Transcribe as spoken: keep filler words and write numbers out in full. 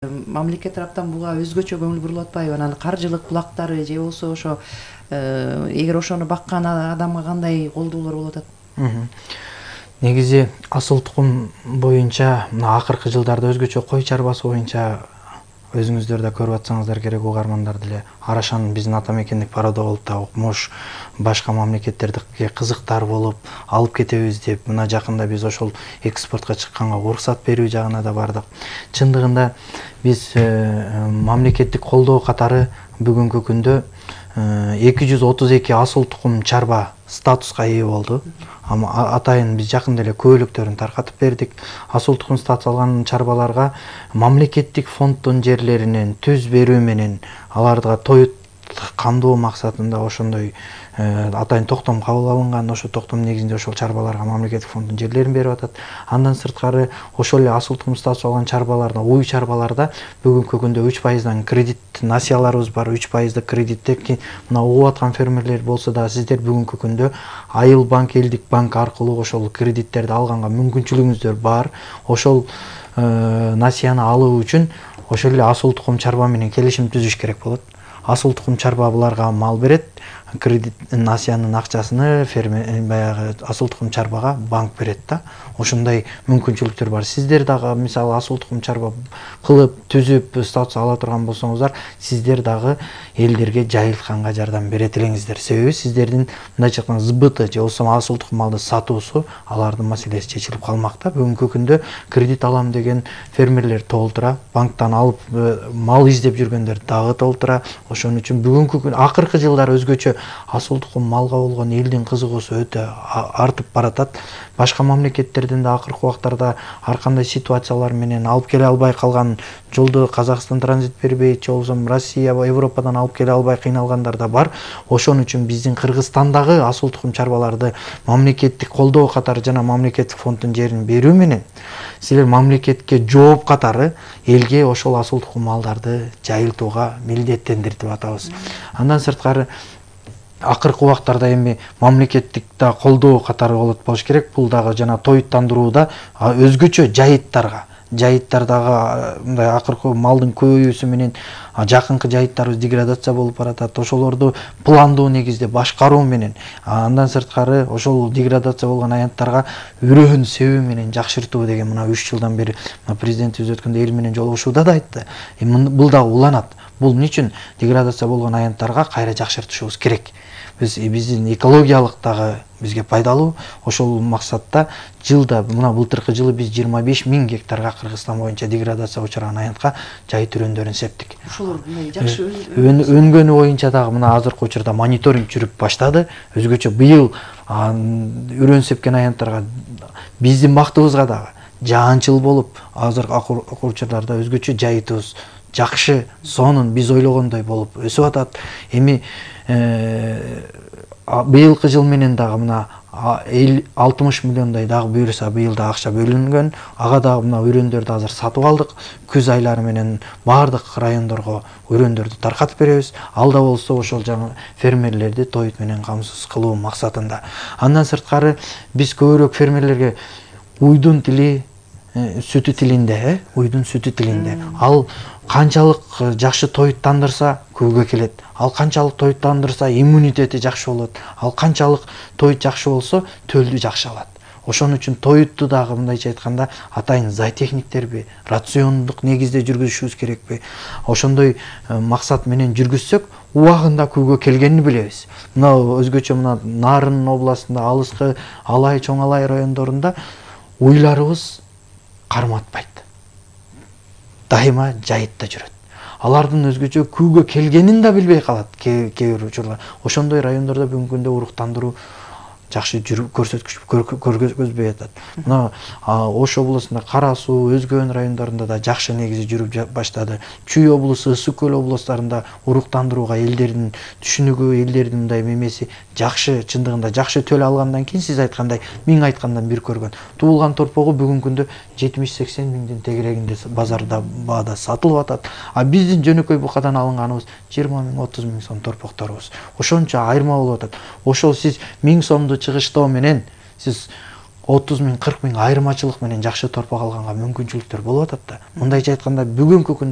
Мамлекет тараптан буга өзгөчө көңүл бурулуп атпайбы? Анан каржылык булактары же болбосо ошо эгер ошону баккан адамга кандай колдоолор болуп атат? Негизи асыл тукум боюнча мына акыркы жылдарда өзгөчө кой чарбасы боюнча өзүңүздөр да көрүп атсаңыздар керек, угармандар деле Арашанын биздин ата мекендик продоволта укмуш башка мамлекеттерге кызыктар болуп алып кетебиз деп мына жакында биз ошол экспортко чыкканга уруксат берүү жагына да бардык. Чындыгында биз мамлекеттик колдоо катары бүгүнкү күндө эки жүз отуз эки асыл тукум чарба статуска ээ болду. Атайын биз жакында эле көбөлөктөрүн таркатып бердик. Асыл тукум статус алган чарбаларга мамлекеттик фонддун жерлеринен түз берүү менен аларга тоют камдоо максатында ошондой атайын токтом кабыл алынган. Ошо токтом негизинде ошол чарбаларга мамлекеттик фонддун жерлерин берип атат. Андан сырткары ошол эле асыл тукум статус алган чарбаларда, уй чарбаларда бүгүнкү күндө үч пайыздан кредит насыяларыбыз бар. үч пайыздык кредитте мына угуп аткан фермерлер болсо да сиздер бүгүнкү күндө Айыл банк, Элдик банк аркылуу ошол кредиттерди алганга мүмкүнчүлүгүңүздөр бар. Ошол насыяны алуу үчүн ошол эле асыл тукум чарба менен келишим түзүш керек болот. Асыл тукум чарба буларга мал берет, кредит насыянын акчасыны фермер баягы асыл тукум чарбага банк берет да. Ошондой мүмкүнчүлүктөр бар. Сиздер дагы мисалы асыл тукум чарба кылып, түзүп, статус ала турган болсоңуздар, сиздер дагы элдерге жайылтканга жардам берет элеңиздер. Себеби сиздердин мындайча айтканда сбыты же болбосо асыл тукум малды сатуусу алардын маселеси чечилип калмак да. Бүгүнкү күндө кредит алам деген фермерлер толтура, банктан алып мал издеп жүргөндөр дагы толтура. Ошон үчүн бүгүнкү күн акыркы жылдары өзгөчө асыл тукум малга болгон элдин кызыгуусу өтө артып баратат. Башка мамлекеттерден да акыркы убактарда ар кандай ситуациялар менен алып келе албай калган, жолдо Казакстан транзит бербейт, же болбосо Россия, Европадан алып келе албай кыйналгандар да бар. Ошон үчүн биздин Кыргызстандагы асыл тукум чарбаларды мамлекеттик колдоо катары жана мамлекеттик фонддун жерин берүү менен силер мамлекетке жооп катары элге ошол асыл тукум малдарды жайылтууга милдеттендиртип атабыз. Андан сырткары акыркы убактарда эми мамлекеттик да колдоо катары болот болуш керек. Бул дагы жана тоюттандырууда өзгөчө жайыттарга жайыттардагы мындай акыркы малдын көбөйүүсү менен жакынкы жайыттарыбыз деградация болуп баратат. Ошолорду пландоо негизде башкаруу менен, андан сырткары ошол деградация болгон аянттарга үрөөн себүү менен жакшыртуу деген мына үч жылдан бери президентибиз өткөндө эл менен жолугушууда да айтты. Бул дагы уланат. Бул эмне үчүн деградация болгон аянттарга кайра жакшыртышыбыз керек. Биз биздин экологиялык дагы бизге пайдалуу. Ошол максатта жылда мына былтыркы жылы биз жыйырма беш миң гектарга Кыргызстан боюнча деградация учураган аянтка жайыт үрөндөрүн септик. Ошолор жакшы өнгөнү боюнча дагы мына азыркы учурда мониторинг жүрүп баштады. Өзгөчө быйыл үрөн сепкен аянттарга биздин бактыбызга дагы жаанчыл болуп, азыркы учурларда өзгөчө жайытыбыз жакшы, сонун биз ойлогондой болуп өсүп атат. Эми быйылкы жыл менен дагы мына алтымыш миллиондой дагы буюрса быйыл да акча бөлүнгөн. Ага дагы мына үрөндөрдү азыр сатып алдык. Күз айлары менен баардык райондорго үрөндөрдү таркатып беребиз. Алда болсо ошол жаңы фермерлерди тоют менен камсыз кылуу максатында. Андан сырткары биз көбүрөөк фермерлерге уйдун тили сүтү тилинде, уйдун сүтү тилинде. Ал канчалык жакшы тоюттандырса көбгө келет. Ал канчалык тоюттандырса иммунитети жакшы болот. Ал канчалык тоют жакшы болсо төлдү жакшы алат. Ошон үчүн тоютту дагы мындайча айтканда атайын зоотехниктерби, рациондук негизде жүргүзүшүбүз керекпи? Ошондой максат менен жүргүзсөк, убагында көбгө келгенин билебиз. Мына өзгөчө мына Нарын областында, алыскы Алай, Чоң Алай райондорунда уйларыбыз карматпайт. Дайыма жайытта жүрөт. Алардын өзгөчө күүгө келгенин да билбей калат кээ бир учурлар. Ошондой райондордо бүгүнкү күндө уруктандыруу жакшы жүрүп көрсөткүч көргөзбөй атат. Мына Ош областында Кара Суу, өзгөн райондорунда да жакшы негизи жүрүп баштады. Чүй облусу, Ысык көл областарында уруктандырууга элдердин түшүнүгү, элдердин мындай мемеси жакшы, чындыгында жакшы төл алгандан кийин сиз айткандай миң айткандан бир көргөн. Туулган торпогу бүгүнкү күндө жетимиш сексен миңдин тегерегинде базарда баада сатылып атат. А биздин жөнөкөй букадан алынганыбыз жыйырма миң, отуз миң сом торпокторубуз. Ошончо айырма болуп атат. Ошол сиз миң сомду чыгыштоо менен сиз отуз миң кырк миң айырмачылык менен жакшы торпак алганга мүмкүнчүлүктөр болуп атат да. Мындайча айтканда бүгүнкү күндө